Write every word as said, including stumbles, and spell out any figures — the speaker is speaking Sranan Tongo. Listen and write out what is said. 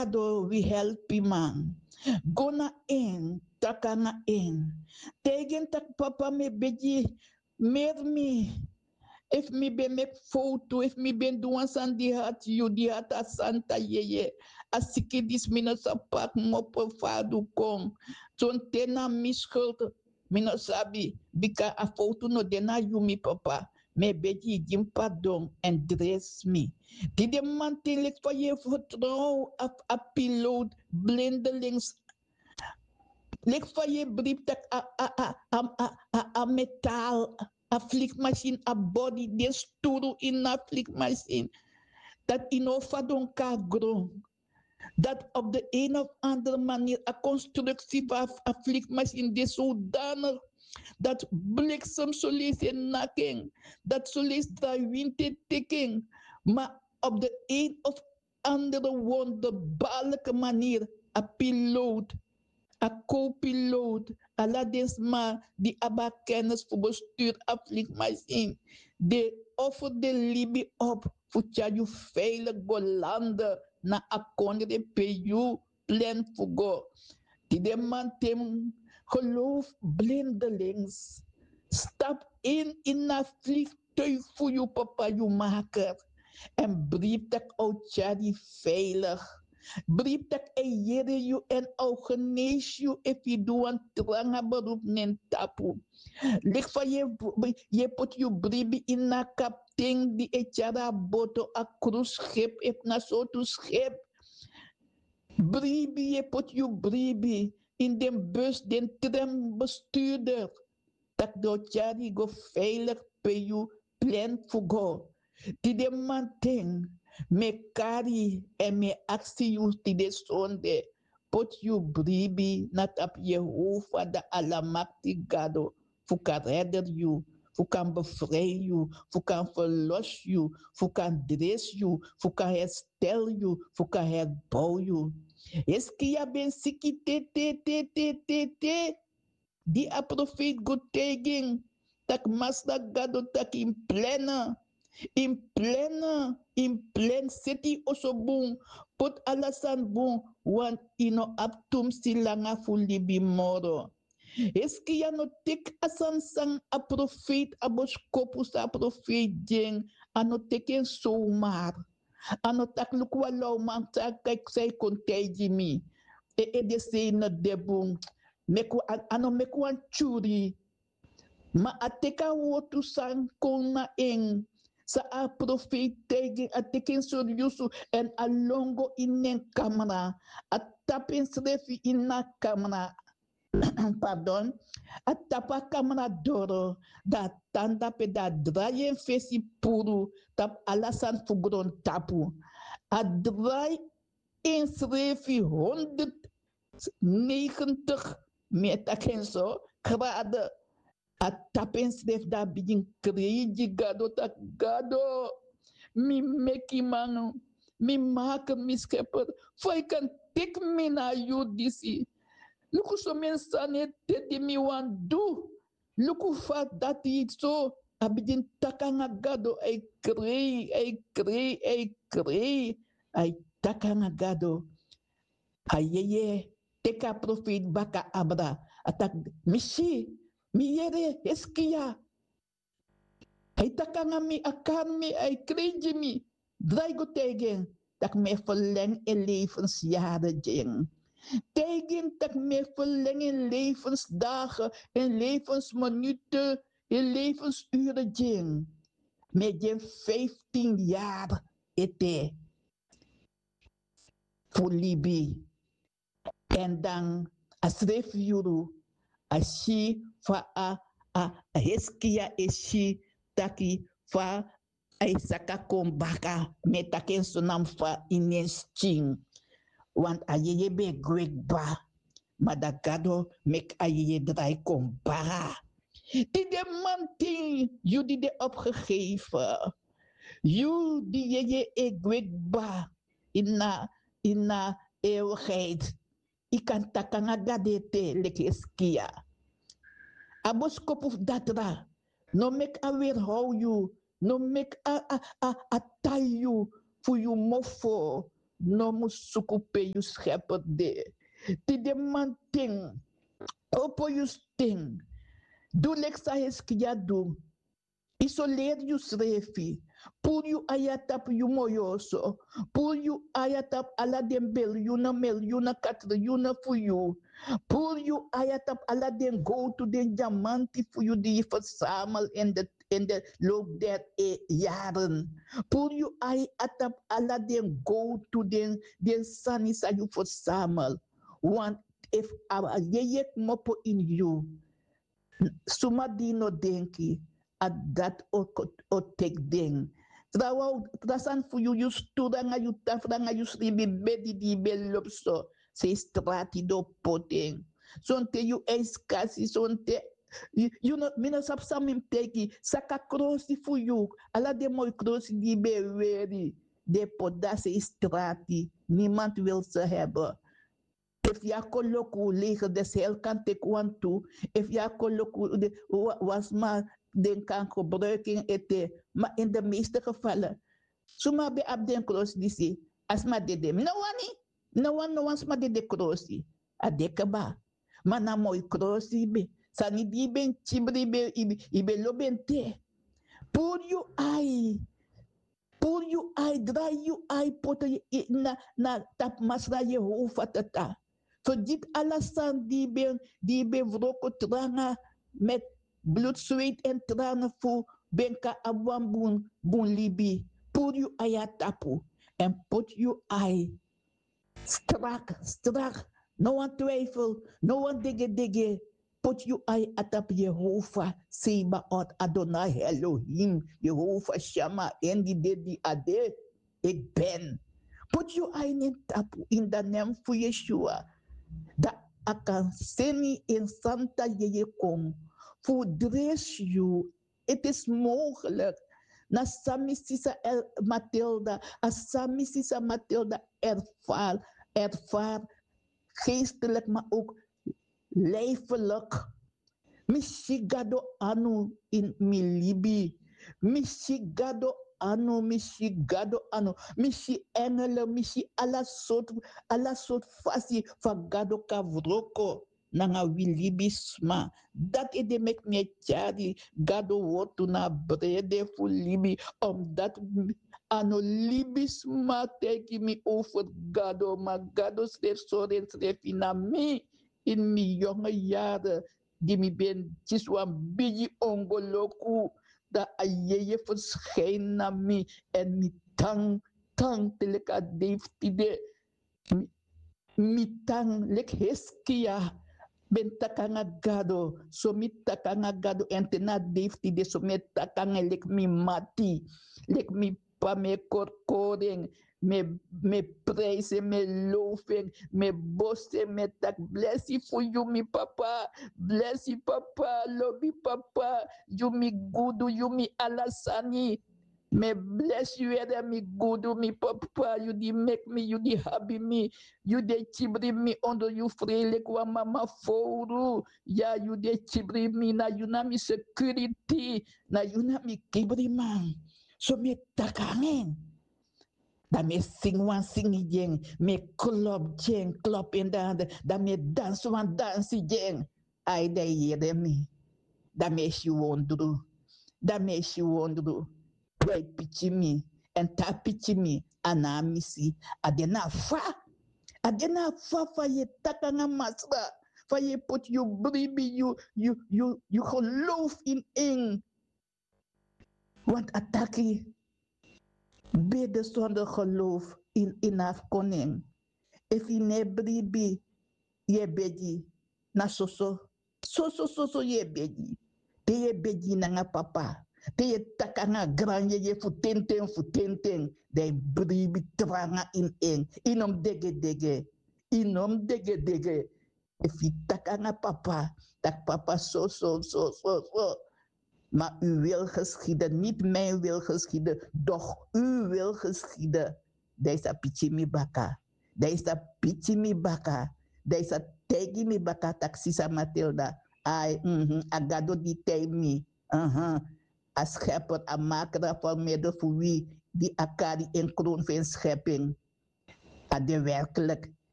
Gado, wi helpiman. Go na en, taki nanga en. Taigi en taki: Papa, mi e begi, meri mi. Efu mi ben meki fowtu, efu mi ben du wan sani di hati yu, di hati a santa yeye, a siki disi mi no sa paki mopo fu a du kon. Sonten na mi skultu. Mi no sabi, bika a fowtu no de na yu, mi Papa. Mi e begi yu gi mi pardon èn dresi mi. Tide mamanten, leki fa yu e fertrow a, a pilot blindelings, leki fa yu e bribi taki a, a, a, a, a, a, a metal, a vliegmachine, a body, den sturu ini a vliegmachine, dati yu no o fadon kon na gron. Dat op de een of andere manier a constructie van a vliegmachine de zodanig dat bliksem zo lees en naking, dat zo lees drawinte tiking, maar op de een of andere wonderbaarlijke manier a piloot, a co-piloot, ala den sma di abi a kennis fu bestuur a vliegmachine, den offer den libi op fu tyari yu veilig go lande na a kondre pe yu plan fu go. Tide mamanten, geloof blindelings, stap in in a vliegtuig fu yu Papa, yu Maker. Èn bribi taki a o tyari yu veilig. Bribi taki a e yere yu èn a o genesi yu efu yu du wan tranga beroep na en tapu. Leki fa yu e, yu e poti yu bribi ini a kapten di e tyari a boto, a cruiseschip efu na sortu schip. Bribi, yu e poti yu bribi ini den bus, den trambestuurder, tak' den o tyari yu go veilig pe yu plan fu go. Tide mamanten, mi e kari èn mi e aksi yu tide sonde, poti yu bribi na tapu Yehova, da Alamakti Gado, fu kan redder yu, fu kan bevrijd yu, fu kan verlos yu, fu kan dresi yu, fu kan herstel yu, fu kan herbouw yu. Hiskia ben siki te, te, te, te, te, te. Di a profeet go taigi en tak' Masra Gado taki: Yu mus plan, yu mus plan, yu mus plan, seti yu oso bun, poti ala sani bun, want yu no abi tumsi langa fu libi moro. Hiskia no teki a sani san a profeet, a boskopu san a profeet gi en, a no teki en somar. A no taki: Luku, wan lawman, san a kon taigi mi. En edesei no de bun. Meki wan, a, a no meki wan tyuri. Ma a teki a wortu san kon na en, san a profeet taigi en, a teki en seriusu, èn a lon go ini en kamra. A tapu ensrefi ini a kamra. Pardon. A tapu a kamra doro, da a tan dape, da a drai en fesi puru tapu ala sani fu grontapu. A drai ensrefi honderdnegentig, mi e taki en so, grade. A tapu ensrefi, da a bigin krei gi Gado taki: Gado, mi mekiman, mi Maker, mi Schepper, fa yu kan teki mi na a yuru disi? Luku someni sani ete di mi wani du. Luku fa dati so. A bigin taki nanga Gado, a e krei, a e krei, a e krei. A e taki nanga Gado. A yeye teki a profeet baka abra. A taki: Mi si, mi yere Hiskia. A e taki nanga mi, a kari mi, a e krei gi mi. Drai go taigi en tak' mi e ferlengi en levensyari gi en. Taigi en tak' mi e ferlengi en levensdagen, en levensminuten, en levensuren gi en. Mi e gi en vijftien yari ete fu libi. Èn dan a srefi yuru, a si fa a, a, a Hiskia e si taki fa a e saka kon baka, mi e taki en so namo, fa ini en skin. Want a yeye ben e gwe kba, ma da Gado meki a yeye drai kon baka. Tide mamanten, yu di de opgegeven, yu di yeye e gwe kba ini a, ini a eeuwigheid, yu kan taki nanga Gado ete leki Hiskia. A boskopu fu datra, no meki a weerhow yu, no meki a, a, a, a tai yu fu yu mofo. no mus suku pe yu skeper de. Tide manten, opo yu sten. Du leki san Hiskia du. Isoleri yusrefi. Puru yu ai na tapu yu moyoso. Puru yu ai na tapu ala den bilyuna milyuna katriyuna fu yu. Puru yu ai na tapu ala den gowtu, den dyamanti fu yu di yu fersamel in de, in de loop der e yaren. Puru yu ai na tapu ala den gowtu, den, den sani san yu fersamel. Want efu a yeye kmopo ini yu, suma di no denki, a dati o, o teki den. Trawan, tra sani fu yu, yu sturu nanga yu tafra nanga yu sribi bedi di yu ben lobi so, sei strati di o poti en. Sonten yu e skasi, sonten yu, yu no, mi no sabi san mi mus teki, saka krosi fu yu, ala den moi krosi di yu ben weri, den poti dati sei strati, niemand wil ze hebben. Efu yu a koloku, leger des heil kan teki wantu. Efu yu a koloku, de, wa-, wan sma den kan gebruiki en ete. Ma in de meeste gevallen, suma ben abi den krosi disi, a sma dede. Mi no wani, mi no wani no wan sma dede krosi. A de kaba. Ma na moi krosi yu ben. Sani di yu ben kibri, yu ben, yu ben, yu ben lobi en te. Puru yu ai. Puru yu ai, drai yu ai, poti yu na, na tapu Masra Yehova tata. Fergiti ala sani di yu ben, di yu ben wroko tranga met bloed, zweet en tranen fu ben kan abi wan bun, bun libi. Puru yu ai na tapu. Èn poti yu ai strak, strak. No wan twijfel, no wan degedege. Poti yu ai na tapu Yehova Sebaot, Adonai Elohim, Yehova Shama, en di de, di a de. Ik ben. Poti yu ai na en tapu in de naam fu Yeshua. Dan a kan seni en santa yeye kon fu dresi yu. Het is mogelijk. Na san mi sisa El-, Matilda, a san mi sisa Matilda ervaar, ervaar geestelijk, maar ook lijfelijk. Mi si Gado anu in mi libi. Mi si Gado anu, mi si Gado anu. Mi si engelen, mi si ala sortu, ala sortu fasi fa Gado kan wroko nanga wi libisma. Dati ede meki mi e tyari Gado wortu na brede fu libi, omdat a no libisma taigi mi over Gado, ma Gado srefi sori ensrefi na mi in mi jonge yaren, di mi ben kisi wan bigi ongoloku, dan a yeye verschijnen na mi, èn mi tan, tan te leki a dei fu tide. Mi, mi tan leki Hiskia ben taki nanga Gado, so mi taki nanga Gado, èn te na a dei fu tide so mi e taki nanga en leki mi mati, leki mi p'pa, mi e korkori en, mi e, mi e prijsi en, mi e lofu en, mi e bosi en, mi e taki blesi fu yu mi papa, blesi papa, lobi papa, yu mi gudu, yu mi ala sani. Mi e blesi yu ede mi gudu mi papa, yu di meki mi, yu di abi mi, yu di e kibri mi ondro yu frei leki wan mama fowru. Ya, yu di e kibri mi, na yu na mi security, na yu na mi kibriman. So mi e taki nanga en. Dan mi e singi wan singi gi en, mi e klop gi en, klop en dan, dan mi e dansi wan dansi gi en. Ai, dan yu yere mi. Dan mi e si wondru. Dan mi e si wondru. Dai pikin mi, èn te a pikin mi, a no a misi. A de na fa. A de na fa, fa yu e taki nanga Masra. Fa yu e poti yu bribi, yu, yu, yu, yu geloof in en. Want a taki, bidden zonder geloof is inafkoning. Efu yu no e bribi, yu e begi, na soso. Soso, soso yu e begi. Te yu e begi nanga papa, te yu e taki nanga granjeje fu tenten, fu tenten, dan yu bribi tranga ini en. Yu no mus degedege. Yu no mus degedege. Efu yu taki nanga papa, taki papa so, so, so, so, so. Maar uw wil geschieden, niet mijn wil geschieden, doch uw wil geschieden. Dan yu sa piki mi baka. Dan yu sa piki mi baka. Dan yu sa taigi mi baka taki sisa Matilda. Ai, mhm, a Gado di taigi mi. Mhm. A schepper, a maker, a vormeder fu wi, di a kari en kroon fu en schepping. a de werklik